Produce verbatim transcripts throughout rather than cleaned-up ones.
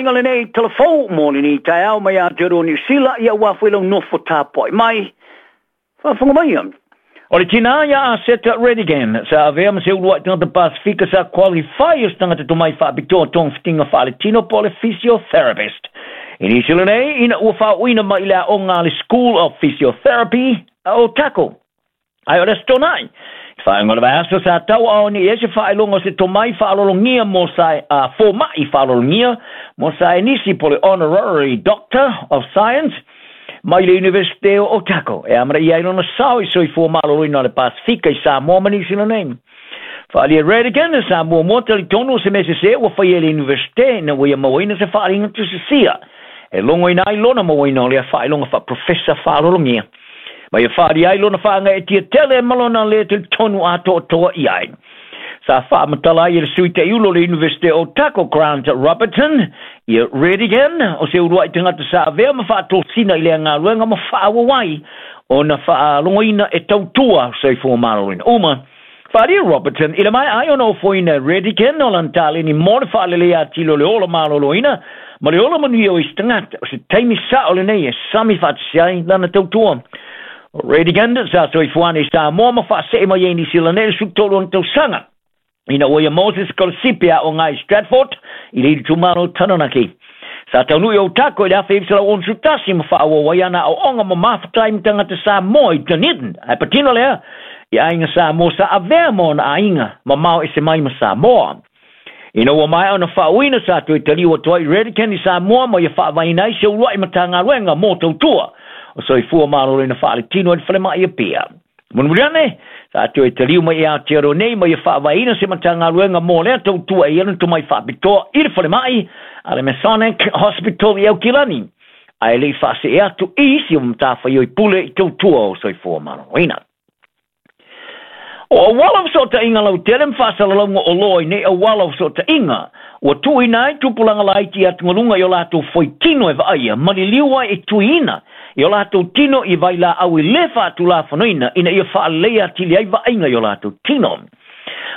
Tapuaiga lenei talafou mo lenei taeao mai Aotearoa Niu Sila, ia ua foi lau nofo tapuai mai. Faafofoga maia. O le tina ia a Seta Redigan, sa avea ma se uluai tagata Pasifika sa qualify o se tagata tomai faapitoa togafitiga faaletino po o le physiotherapist. I Niu Sila nei, ina ua faaoina mai i le aoga a le School of Physiotherapy a Otago. Ae o le Aso Toonai, i faaiuga o le vaiaso sa tauaao nei ai se faailoga o se tomai faalologia mo sa uh, fomaʻi faalologia mo saienisi po o le Honorary Doctor of Science mai le Universite o Otago e amanaia ai lona sao i soifua maloloina o le Pasifika i Samoa ma Niu Sila nei. Faaalia Redigan sa muamua talitonu o se mea sesē ua faia e le Universite ina ua ia mauaina se faaliga tusisia e logoina ai lona mauaina o lea faailoga faaprofesa faalologia. Ma ia faaalia ai lona faagaeetia tele ma lona lē talitonu atoatoa i ai. Sa faamatala ai e le sui taʻiulo o le Universite o Otago Grant Robertson ia Redigan o se uluai tagata sa avea ma faatosina i lea galuega ma faaauau ai ona faalogoina e tautua soifua maloloina uma. Faaalia Robertson i le maea ai ona ofoina e Redigan o lana taleni mo le faaleleia atili o le ola maloloina ma le ola manuia o isi tagata, o se taimi sao lenei e sami faatasi ai lana tautua. O Redigan sa soifua ane i Samoa ma faasee mai ai Niu Sila nei i le sefulutolu ona tausaga ina ua ia maua se sikolasipi aoga i Stratford i le itumalo Taranaki. Sa taunuu i Otago i le afe iva selau onosefulu tasi ma faaauau ai ana aoaoga ma mafuta ai ma tagata Samoa i Dunedin. Ae patino lea i aiga Samoa sa avea ma ona aiga mamao ese mai ma Samoa. Ina ua maea ona faauuina sa toe taliu atu ai Redigan i Samoa ma ia faavaeina ai se uluai Matagaluega mo tautua o soifua maloloina faaletino i le falemai Apia. Mulimuli ane, sa toe taliu mai i Aotearoa nei ma ia faavaeina se Matagaluega mo lea tautua e i ai lona tomai faapitoa i le falemai a le Masonic Hospital i Aukilani, ae le i faasee atu i isi o matafaioi pule i tautua o soifua maloloina. O auala o fesootaiga lautele ma faasalalauga oloa i nei auala o fesootaiga, ua tuuina ai tupulaga laiti i atugaluga i o latou foitino e vaaia ma liliu ai e tuiina i o latou tino i vailaau i lē faatulafonoina ina ia faaleleia atili ai vaaiga i o latou tino.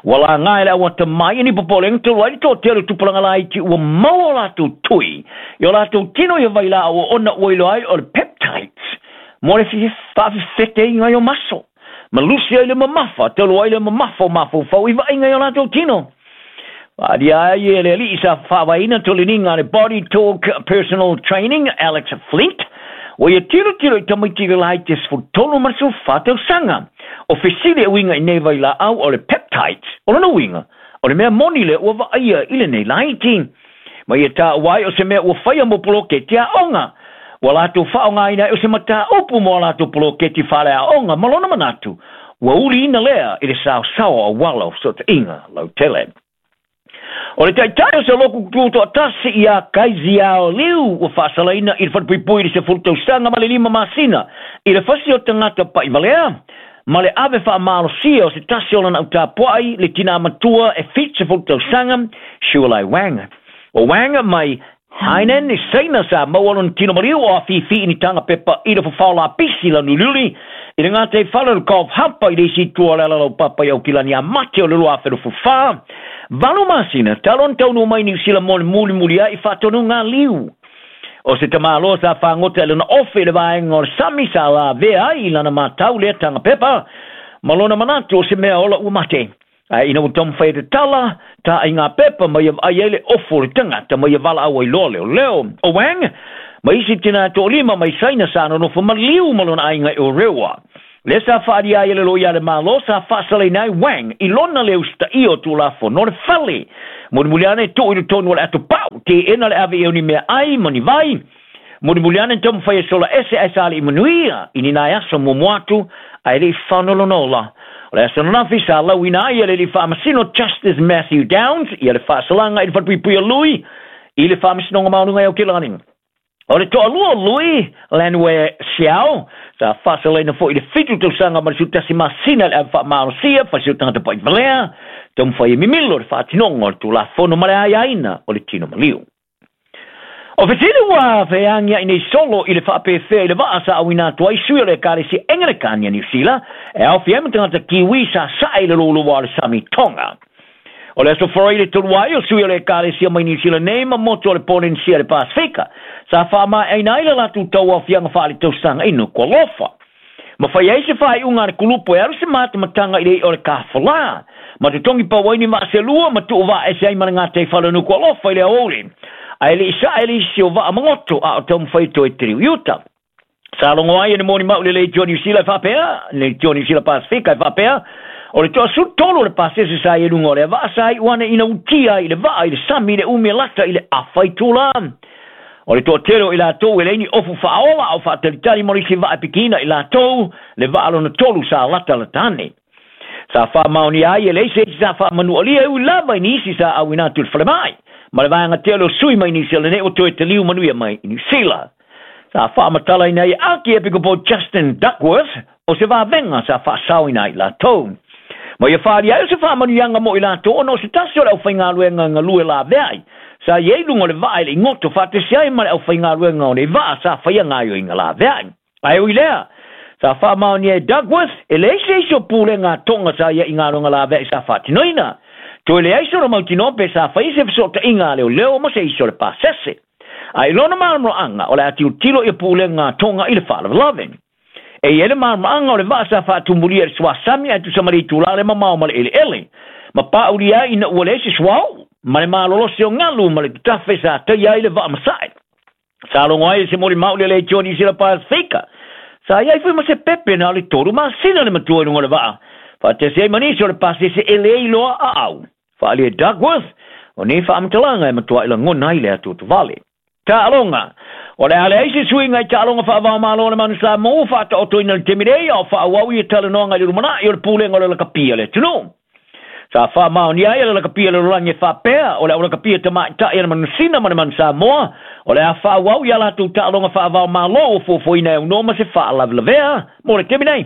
Ua laga e le au atamai ni popolega talu ai le toatele o tupulaga laiti ua maua o latou tui i o latou tino i vailaau ona ua iloa ai o le peptides mo le faafefeteiga i o maso ma lusi ai le mamafa talu ai le mamafa o mafaufau i vaaiga i o latou tino. Faaalia ai e le alii sa faavaeina toleniga a le Body Talk Personal Training Alex Flint ua ia tilotilo i tamaiti laiti e sefulutolu ma le sefulufa tausaga. O fesili e uiga i nei vailaau o le peptides, o lona uiga o le mea moni lea ua vaaia i lenei laiti. Ma ia taua ai o se mea ua faia mo poloketi aoga ua latou faaaogaina ai o se mataupu mo a latou poloketi faaleaoga ma lona manatu ua uliina lea i le saosao o auala o fesootaiga lautele. O le taitai o se loku tutoatasi ia Kaiziao Liu ua faasalaina i le falepuipui i le sefulu tausaga ma le lima masina i le fasi o tagata paʻivalea ma le ave faamalosia o se tasi o lana autapuai le tinā matua e fitusefulu tausaga Shualai Wang. O Wang mai Hainan i Saina sa maua lona tino maliu o afifi i ni taga pepa i le fofao lapisi lanuliuli i le gataifale o le Golf Hump i le isi itu o le alalaupapa i Aukilani ia Mati o le lua afe luasefulu fa. Valu masina talu ona taunuu mai Niu Sila mo le mulimuli ai i faatonuga a Liu. O se tamāloa sa fagota i lona ofe i le vaega o le sami sa lavea ai i lana matau lea taga pepa ma lona manatu o se mea ola ua mate. Ae ina ua taumafai e tatala taʻai ngā pepa ma ia vaai ai le ofo o le tagata ma ia valaau ai loa leoleo. O Wang ma isi tinā toalima mai Saina sa nonofo maliu ma lona aiga i Orewa. Lea sa faaalia ai e le loia a le Malo sa faasalaina ai Wang i lona le usitaia o Tulafono o le fale. Mulimuli ane tuu i totonu o le atopau, teena le ave i ai o ni meaai ma ni vai. Mulimuli ane taumafai e sola ese ae sa alii manuia i ni nai aso muamua atu ae le i faanolona ola. O le aso ananafi sa lauina ai e le alii faamasino Justice Matthew Downs ia le faasalaga i le falepuipui a Lui i le Faamasinoga Maualuga i Aukilani. O le toalua o Lui, Lanwei Xiao, sa faasalaina foi i le fitu tausaga ma le sefulu tasi masina i le ave faamalosia fasi o tagata paʻivalea, taumafai e mimilo le faatinoga o le Tulafono ma le aiaina o le tino maliu. O fesili ua feagiaʻi nei solo i le faapefea i le vaa sa auina atu ai sui o le Ekalesia Egelekani a Niu Sila e aofia ai ma tagata Kiwi sa sae i le louloua o le sami Tonga. O le aso forai le tolu ai o sui o le ekalesia mai Niu Sila nei ma motu o le Polenesia le Pasifika. Sa faamaeaina ai le latou tauaofiaga faaletausaga i Nukualofa. Ma fai ai se faaiuga a le kulupu e alu se matamataga i le i'a o le kafolā. Ma totogi pau ai ni vaaselua ma tuu vaaese ai ma le gataifale o Nukualofa i le aoauli. Ae le'i sae le isi o vaa magoto a o taumafai toe taliu i uta. Sa logo ai e le molimau i le Leitio Niu Sila e faapea, le Leitio Niu Sila Pasifika e faapea, o le toasulu tolu o le pasese sa i e luga o lea vaa sa iu ane ina utia ai i le vaa i le sami i le umi e lata i le afa itulā. O le toatele o i latou e leai ni ofu faaola a o faatalitali mo le isi vaa e pikiina i latou le vaa lona tolu sa latalata ane. Sa faamaonia ai e leai se isi sa faamanualia e ui lava i nisi sa auina atu i le falemai ma le vaega tele o sui mai Niu Sila nei ua toe taliu manuia mai i Niu Sila. Sa faamatalaina ai e Akiepikopo Justin Duckworth o se vavega sa faasaoina ai i latou. Ma ia faaalia ai o se faamanuiaga mo i latou ona o se tasi o le aufaigaluega galue laveai sa i ai luga o le vaa i le igoto faatasi ai ma le aufaigaluega o nei vaa sa faia gaoioiga laveai. Ae ui lea, sa faamaonia e Duckworth e leai se isi o pulega a Tonga sa ia i galuega laveai sa faatinoina. Toe leai sona mautinoa pe sa faia se fesootaiga a leoleo ma se isi o le pasese. Ae i lona malamalamaaga o le a tilotilo ia pulega a Tonga i le faalavelave. E i ai le malamalamaaga o le vaa sa faatumulia i le suasami ae tusa ma le itulā le mamao ma le eleele. Ma paaulia ai ina ua leai se suauu ma le malolosi o galu ma le tatafe sa taia ai le vaa masae. Sa logo ai e se molimau le Leitio Niu Sila Pasifika. Sa i ai foi ma se pepe na o le tolu masina le matua i luga o le vaa. Faatasi ai ma nisi o le pasese e le iloa aau. Faaalia e Duckworth, o nei faamatalaga e matuai lagona ai le atuatuvale. Taaloga. O le a leai se suiga i taaloga faavaomalo o le Manu Samoa ua faataotoina i le taimi nei a o faaauau ia talanoaga i le lumanai o le pulega o le lakapia a le atunuu. Sa faamaonia ai e le lakapia le lalolagi e faapea o le aulakapia tamaitai a le Manusina ma le Manu Samoa o le a faaauau ia latou taaloga faavaomalo ua fuafuaina e aunoa ma se faalavelavea mo le taimi nei.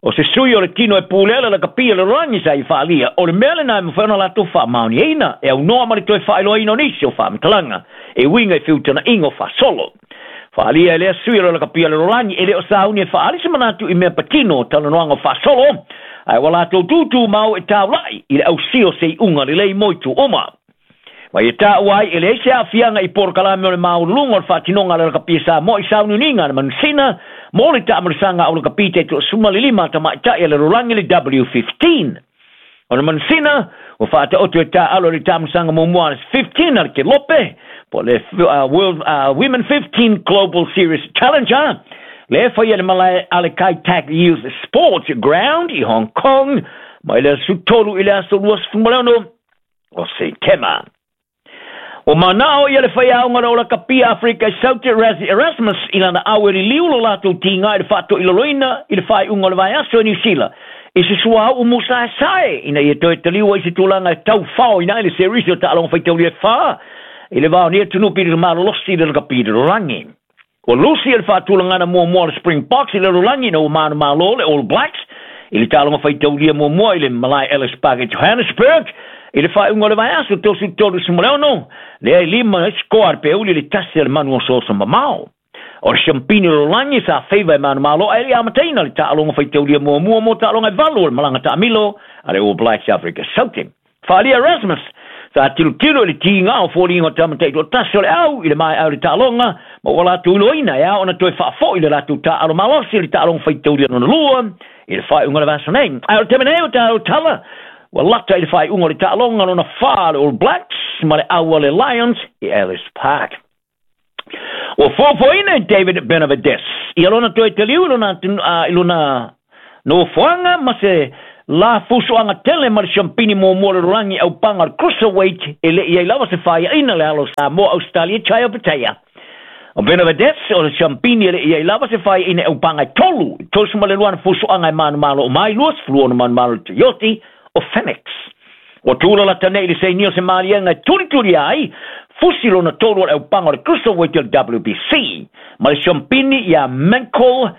O se sui o le tino e pulea le lakapia le lalolagi sa i faalia o le mea lena e mafai ona latou faamaoniaina e aunoa ma le toe faailoaina o nisi o faamatalaga e uiga i feutagaiga o faasolo. Faalia e lea sui o le lakapia le lalolagi e le o sauni e faaali se manatu i mea patino o talanoaga o faasolo ae ua latou tūtū mau e taulai i le ausia o se iuga lelei mo itu uma. Ma ia taua ai e leai se aafiaga i polokalame o le maualuluga o le faatinoga a le lakapia Samoa i sauniuniga a le Manusina mo le taamalosaga au lakapi taitoasuma le lima tamaitai a le lalolagi le W fifteen. O le Manusina ua faataoto e taaalo i le taamalosaga muamua a le fifteen a le Kelope po le uh, World uh, Women fifteen Global Series Challenger le faia le malae a le Kai Tak Youth Sports Ground i Hong Kong mai le aso tolu i le aso luasefulu ma le ono o Setema. O manao ia le faiaoga le ola kapia Afrika i Saute Rassie Erasmus i lana au e liliu lo latou tiga i le faatoilaloina i le faaiuga o le vaiaso i Niu Sila i se suauu musaesae ina ia toe taliu ai se tulaga e taufaoina ai le serisi o taaloga faitaulia e fa i le va o nei atunuu pili malolosi i le lakapi i le lalolagi. Ua lusi e le faatulagana muamua o le Springboks i le lalolagi ina ua manumalo le All Blacks i le taaloga faitaulia muamua i le malae Ellis Park i Johannesburg i le faaiuga o le vaiaso tosu tolu sefulu ma le ono, lea e lima ai sikoa a le peuli i le tasi a le manu osooso mamao. O le siampini o le lalolagi sa feiva e manumalo ae le i amataina le taaloga faitaulia muamua mo taaloga e valu o le malaga taamilo a le All Blacks Afrika Saute. Faalia Erasmus sa tilotilo i le tiga o foliga o tamatai toatasi o le au i le mae'a o le taaloga ma ua latou iloaina e ao ona toe faafoi le latou taaalo malosi i le taaloga faitaulia lona lua i le faaiuga o le vaiaso nei. Ae o le taimi nei o tatou tala ua lata i le faaiuga o le taaloga lona fa le All Blacks ma le au a le Lions i Ellis Park. Ua fuafuaina e David Benavides ia lona toe taliu i lona, uh, i lona nofoaga ma se la fusoaga tele ma le siampini muamua o le lalolagi aupaga o le cruiserweight e le'i ai lava se faiaina le alo o Samoa Australia Chai o Patea. O Benavides o le siampini e le'i ai lava se faiaina aupaga e tolu i tolu ma le lua na fusoaga e manumalo o mai luasefulu ono manumalo le Toyoti o Phoenix. Ua tula lata nei i le sainia o se maliega e tulituli ai fusi lona tolu o le aupaga o le cruiserweight o le W B C ma le siampini ia Michael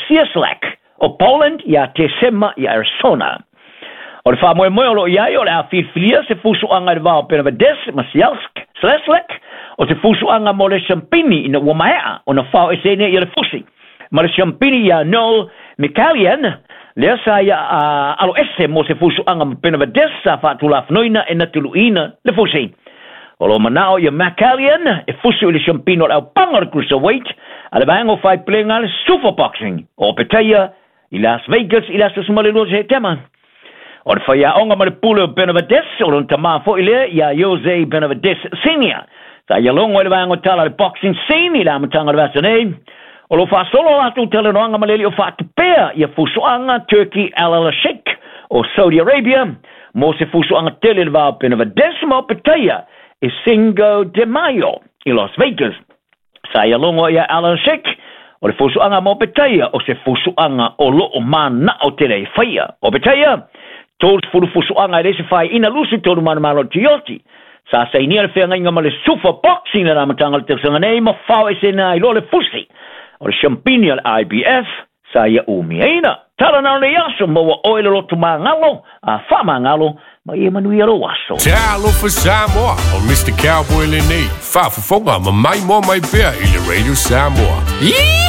Cieslak o Poland ia Tesema i Arizona. O le faamoemoe o loo i ai o le a filifilia se fusoaga i le va o Benavides ma Cieslak o se fusoaga mo le siampini ina ua maea ona fao eseina ia le fusi ma le siampini ia Noel Mikaelian Lea sa ia alo ese mo se fusuaga ma Benavides sa faatulafonoina e natuluina le fusi. O lo manao ia McCallion e fusi i le siampino o le aupaga o le cruiserweight a le vaega o faiplega le Super Boxing o Petaia i Las Vegas i le aso sefulumalua o Setema. O le faiaoga ma le pule o Benavides, o lona tamā fo'i lea ia Jose Benavides Senior. Sa ia logo i le vaega o tala le boxing scene i le amataga o le vasa nei. O lo faasolo latou talanoaga ma le alii o faatupea ia fusuaga Turki Alalshikh o Saudi Arabia mo se fusuaga tele le va o Benavides ma o Petaia e Cinco de Mayo i Las Vegas. Sa ia logo ia Alalshikh o le fusuaga mo Petaia o se fusuaga o loo manao tele e faia. O Petaia, tolu fusuaga e le se faiina lusi tolu manumalo tioti. Sa sainia le feagaiga ma le Super Boxing le amataga o le tausaga nei ma fao esena ai loa le fusi. O le siampini o le I B F sa ia umiaina. Tala na o le aso maua oe le lotu magalo, a faamagalo, ma ia manuia lou aso. Talofa Samoa, o Mister Cowboy lenei, faafofoga ma mai mo mai pea i le Radio Samoa.